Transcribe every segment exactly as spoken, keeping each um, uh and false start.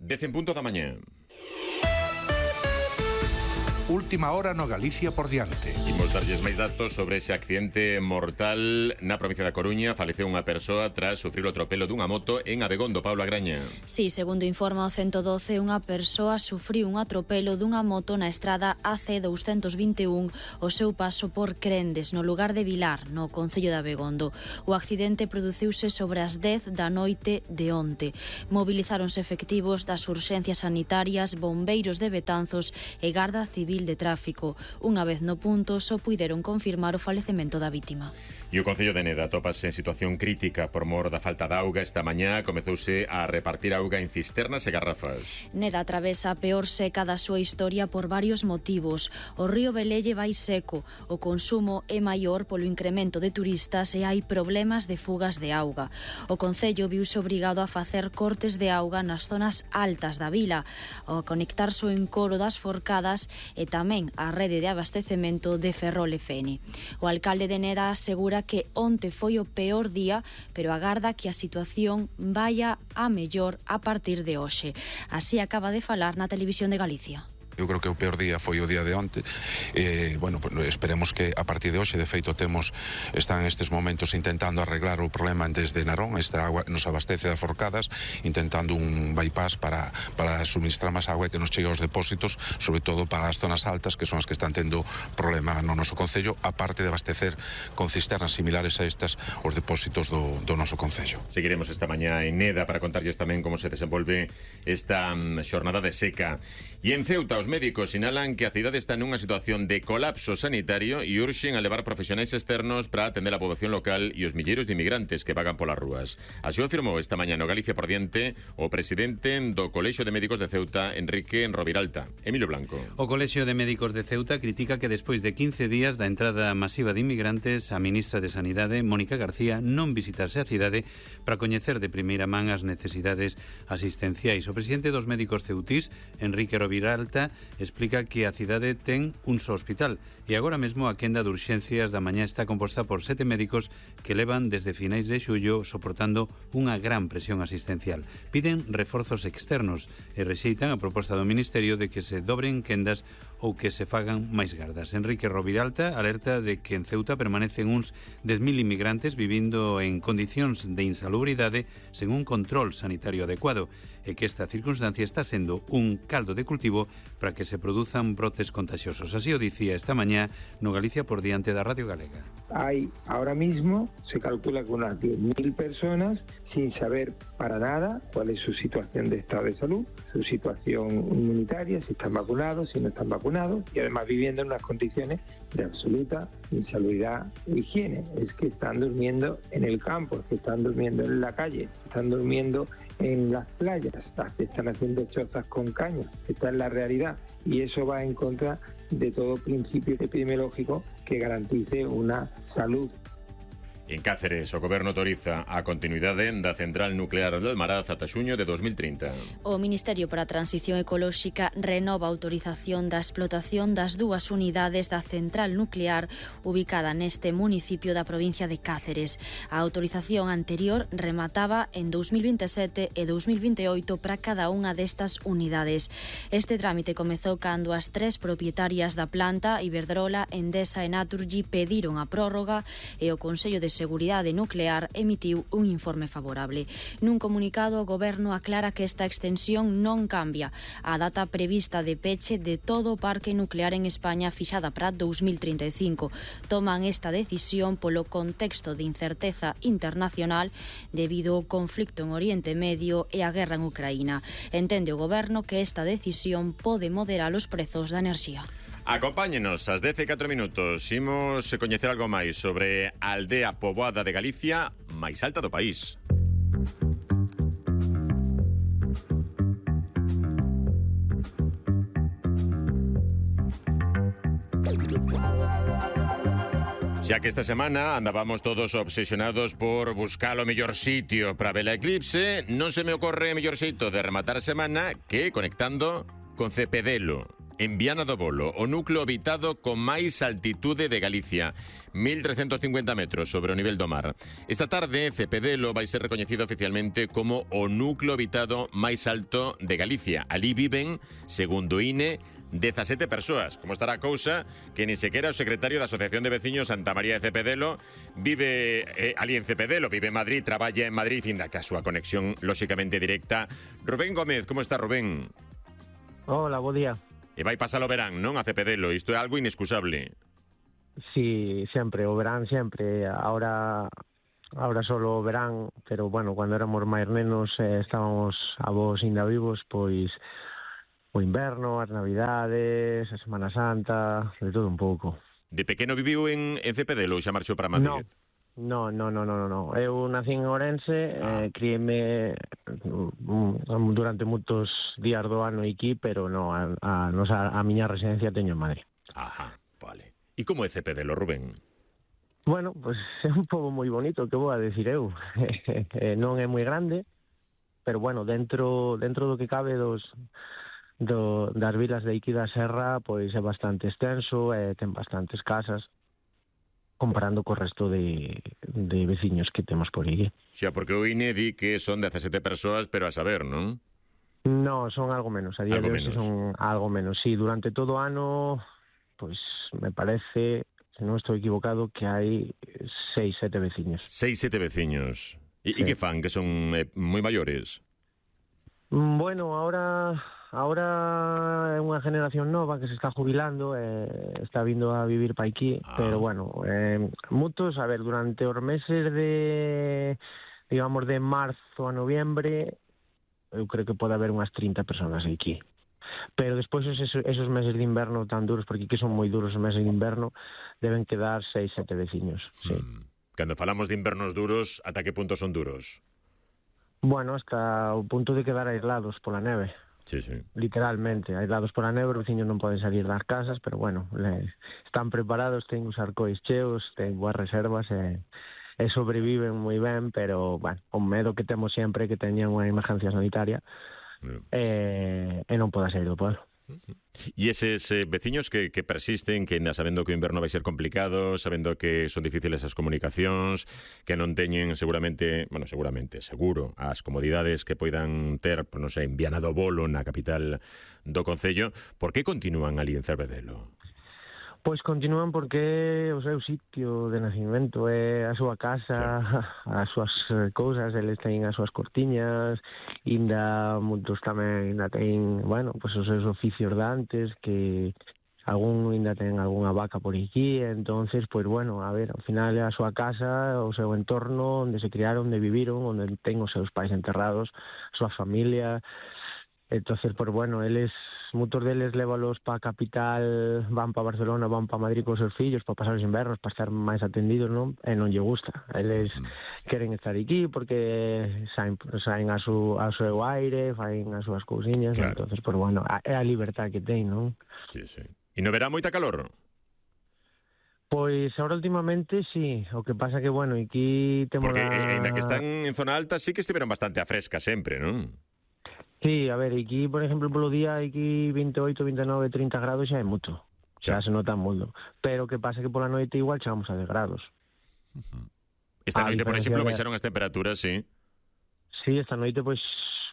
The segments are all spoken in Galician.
Dez en punto da mañá. Última hora no Galicia por diante. Imos darlles máis datos sobre ese accidente mortal na provincia da Coruña. Faleceu unha persoa tras sufrir o atropelo dunha moto en Abegondo. Paula Graña. Sí, segundo informa o ciento doce, unha persoa sufriu un atropelo dunha moto na estrada A C doscientos veintiuno o seu paso por Crendes, no lugar de Vilar, no concello de Abegondo. O accidente produciuse sobre as dez da noite de onte. Mobilizáronse efectivos das urxencias sanitarias, bombeiros de Betanzos e Garda Civil de Tráfico. Unha vez no punto, só puideron confirmar o falecemento da vítima. E o concello de Neda atopase en situación crítica por mor da falta de auga. Esta mañá comezouse a repartir auga en cisternas e garrafas. Neda atravesa a peor seca da súa historia por varios motivos. O río Velelle vai seco, o consumo é maior polo incremento de turistas e hai problemas de fugas de auga. O concello viuse obrigado a facer cortes de auga nas zonas altas da vila, ao conectarse o encoro das Forcadas e tamén a rede de abastecemento de Ferrol e Fene. O alcalde de Neda asegura que onte foi o peor día, pero agarda que a situación vaya a mellor a partir de hoxe. Así acaba de falar na Televisión de Galicia. Eu creo que o peor día foi o día de onte. eh, bueno, esperemos que a partir de hoxe, de feito temos, están estes momentos intentando arreglar o problema desde Narón. Esta agua nos abastece de Forcadas, intentando un bypass para, para suministrar máis agua e que nos chegue aos depósitos, sobre todo para as zonas altas, que son as que están tendo problema no noso concello, aparte de abastecer con cisternas similares a estas os depósitos do, do noso concello. Seguiremos esta mañá en Neda para contarlles tamén como se desenvolve esta um, xornada de seca. E en Ceuta, os médicos sinalan que a cidade está nunha situación de colapso sanitario e urxen a levar profesionais externos para atender a poboación local e os milleiros de inmigrantes que vagan polas rúas. Así o afirmou esta mañá no Galicia por diante o presidente do Colexio de Médicos de Ceuta, Enrique Roviralta. Emilio Blanco. O Colexio de Médicos de Ceuta critica que despois de quince días da entrada masiva de inmigrantes, a ministra de Sanidade, Mónica García, non visitase a cidade para coñecer de primeira man as necesidades asistenciais. O presidente dos médicos ceutís, Enrique Roviralta, explica que a cidade ten un só hospital e agora mesmo a quenda de urxencias da mañá está composta por sete médicos que levan desde finais de xullo soportando unha gran presión asistencial. Piden reforzos externos e rexeitan a proposta do Ministerio de que se dobren quendas ou que se fagan máis gardas. Enrique Roviralta alerta de que en Ceuta permanecen uns dez mil inmigrantes vivindo en condicións de insalubridade sen un control sanitario adecuado e que esta circunstancia está sendo un caldo de cultivo para que se produzan brotes contagiosos. Así o dicía esta mañá no Galicia por diante da Radio Galega. Hay ahora mismo, se calcula que unas diez mil personas sin saber para nada cuál es su situación de estado de salud, su situación inmunitaria, si están vacunados, si no están vacunados, y además viviendo en unas condiciones de absoluta insalubridad e higiene. Es que están durmiendo en el campo, es que están durmiendo en la calle, están durmiendo en las playas, están haciendo chozas con cañas. Esta es la realidad y eso va en contra de todo principio epidemiológico que garantice una salud. En Cáceres, o Goberno autoriza a continuidade da central nuclear de Almaraz ata xuño de dos mil trinta. O Ministerio para a Transición Ecolóxica renova a autorización da explotación das dúas unidades da central nuclear ubicada neste municipio da provincia de Cáceres. A autorización anterior remataba en dos mil veintisiete e dos mil veintioito para cada unha destas unidades. Este trámite comezou cando as tres propietarias da planta, Iberdrola, Endesa e Naturgy, pediron a prórroga e o Consello de Seguridade Nuclear emitiu un informe favorable. Nun comunicado, o Goberno aclara que esta extensión non cambia a data prevista de peche de todo o parque nuclear en España fixada para dos mil trinta e cinco. Toman esta decisión polo contexto de incerteza internacional debido ao conflicto en Oriente Medio e a guerra en Ucraína. Entende o Goberno que esta decisión pode moderar os prezos da enerxía. Acompáñenos ás dez e catro minutos. Imos coñecer algo máis sobre a aldea poboada de Galicia máis alta do país. Xa que esta semana andábamos todos obsesionados por buscar o mellor sitio para ver a eclipse, non se me ocorre o mellor xeito de rematar a semana que conectando con Cepedelo. en Viana do Bolo, o núcleo habitado con máis altitude de Galicia, mil trescentos cincuenta metros sobre o nivel do mar. Esta tarde, Cepedelo vai ser recoñecido oficialmente como o núcleo habitado máis alto de Galicia. Ali viven, segundo o I N E, dezasete persoas. Como estará a cousa que ni sequera o secretario da Asociación de Veciños Santa María de Cepedelo vive eh, ali en Cepedelo, vive en Madrid, traballa en Madrid, inda que a súa conexión lóxicamente directa. Rubén Gómez, como está Rubén? Hola, bo día. E vai pasar o verán, non, a Cepedelo? Isto é algo inexcusable. Sí, sempre, o verán sempre. Ahora ahora solo o verán, pero bueno, cando éramos máis nenos eh, estábamos avós ainda vivos, pois o inverno, as navidades, a Semana Santa, de todo un pouco. De pequeno viviu en, en Cepedelo ou xa marchou para Madrid? No, no, no, no, no, no. Eu nací en Ourense, ah. eh, crieme durante moitos días do ano aquí, pero no, a, a, a, a miña residencia teño en Madrid. Ajá, vale. E como é Cepedelo, Rubén? Bueno, pues é un pobo moi bonito, que vou a decir eu. Non é moi grande, pero bueno, dentro dentro do que cabe dos do, das vilas de aquí da Serra, pois é bastante extenso, e ten bastantes casas, comparando co resto de, de veciños que temos por aquí. Xa, porque o I N E di que son dezasete persoas, pero a saber, non? No, son algo menos, a día algo de hoxe son algo menos. Sí, durante todo o ano, pois me parece, se non estou equivocado, que hai seis, sete veciños. Seis, sete veciños. E, sí. e que fan? Que son eh, moi maiores? Bueno, ahora... Ahora é unha generación nova que se está jubilando, eh, está vindo a vivir pa aquí, ah. pero bueno, eh, moitos, a ver, durante os meses de, digamos, de marzo a noviembre, eu creo que pode haber unhas trinta personas aquí. Pero despois esos, esos meses de inverno tan duros, porque aquí son moi duros os meses de inverno, deben quedar seis, sete veciños, sí. Mm. Cando falamos de invernos duros, ata que punto son duros? Bueno, hasta o punto de quedar aislados pola neve. Sí, sí. Literalmente, aislados por a neve, os veciños non poden salir das casas, pero bueno, le, están preparados, ten os arcois cheos, ten boas reservas e, e sobreviven moi ben, pero, bueno, o medo que temos sempre que teñan unha emergencia sanitaria mm. e, e non poda sair do pueblo. E eses eh, veciños que, que persisten, que ainda sabendo que o inverno vai ser complicado, sabendo que son difíciles as comunicacións, que non teñen seguramente, bueno, seguramente, seguro, as comodidades que poidan ter, non sei, en Viana do Bolo, na capital do concello, por que continúan ali en Cepedelo? Pois continúan porque o seu sitio de nacimento é a súa casa, claro. As súas cousas, eles teñen as súas cortiñas, inda moitos tamén inda ten, bueno, pois os seus oficios de antes, que algún inda ten algunha vaca por aquí, entonces, pois bueno, a ver, ao final é a súa casa, o seu entorno, onde se criaron, onde viviron, onde ten os seus pais enterrados, a súa familia. Entonces, pues bueno, eles, moitos deles lévalos pa capital, van pa Barcelona, van pa Madrid cos seus fillos, para pasar os invernos, para estar máis atendidos, non? E non lle gusta. Eles mm. queren estar aquí porque saen, saen a, su, a seu aire, faen as súas cousiñas, claro. Entonces, pues bueno, é a liberdade que ten, non? Sí, sí. E non verá moita calor? Pois ahora últimamente sí, o que pasa que, bueno, aquí temos... Porque, la... ainda que están en zona alta, sí que estiveron bastante a fresca sempre, non? Sí, a ver, aquí, por exemplo, polo día, aquí veintioito, veintinueve, trinta grados xa é moito. Xa se nota moito. Pero que pasa que pola noite igual chegamos a dez grados. Uh-huh. Esta noite, por exemplo, de... baixaron as temperaturas, sí? Sí, esta noite, pois,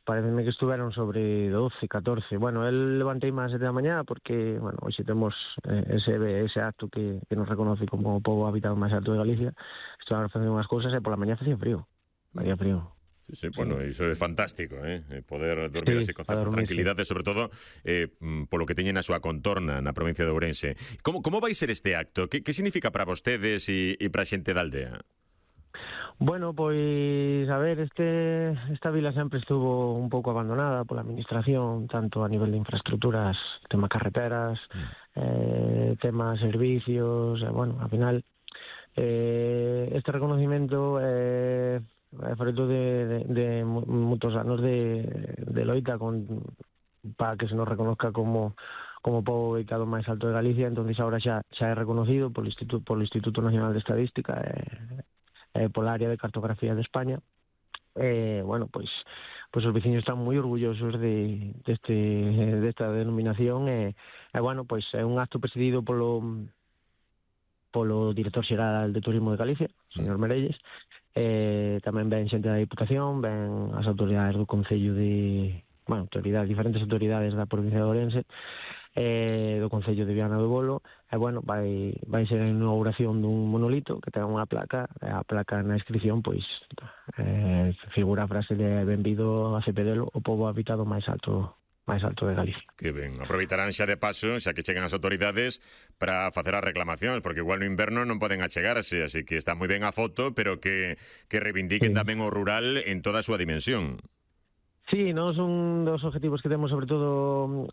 pareceme que estuveron sobre doce, catorce. Bueno, el levantei máis sete da mañá porque, bueno, hoxe temos eh, ese, ese acto que, que nos reconoce como o pobo habitado máis alto de Galicia. Estuvamos facendo unhas cousas e pola mañá facía frío. Facía frío. Sí, sí, bueno, sí. Iso é fantástico, eh? Poder dormir sí, así con certa tranquilidade, sobre todo eh, polo que teñen a súa contorna na provincia de Ourense. Como, como vai ser este acto? Que, que significa para vostedes e, e para a xente da aldea? Bueno, pois, a ver, este, esta vila sempre estuvo un pouco abandonada pola administración, tanto a nivel de infraestructuras, tema carreteras, mm. eh, tema servicios, eh, bueno, ao final, eh, este reconocimiento... Eh, fruto de, de, de moitos anos de, de loita con, para que se nos reconozca como como pobo ubicado máis alto de Galicia, entonces agora xa xa é reconocido polo Instituto polo Instituto Nacional de Estadística e, e pola área de cartografía de España. Eh, bueno, pois pois os veciños están moi orgullosos de deste desta denominación e, e bueno, pois é un acto presidido polo polo director xeral de Turismo de Galicia, señor Merelles. Eh, tamén ven xente da Diputación, ven as autoridades do Concello de, bueno, autoridades, diferentes autoridades da provincia de Ourense, eh, do Concello de Viana do Bolo, e bueno, vai vai ser a inauguración dun monolito que ten unha placa, e a placa na inscripción pois eh, figura a frase de benvido a Cepedelo, o pobo habitado máis alto máis alto de Galicia. Que ben, aproveitarán xa de paso, xa que chegan as autoridades para facer as reclamacións, porque igual no inverno non poden achegarse, así que está moi ben a foto, pero que, que reivindiquen sí. tamén o rural en toda a súa dimensión. Sí, nos un dos objetivos que temos, sobre todo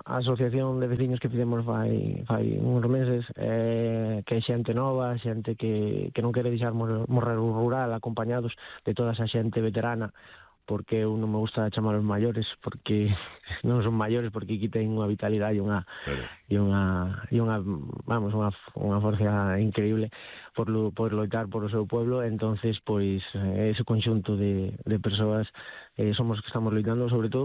a asociación de veciños que fizemos fai, fai uns meses, eh, que é xente nova, xente que, que non quere deixar morrer o rural, acompañados de toda esa xente veterana, porque eu non me gusta chamar os maiores, porque non son maiores, porque aquí ten unha vitalidade e unha claro. e unha e unha vamos, unha unha forza increíble por lo, por loitar por o seu pueblo. Entonces, pois ese conxunto de de persoas eh, somos que estamos loitando sobre todo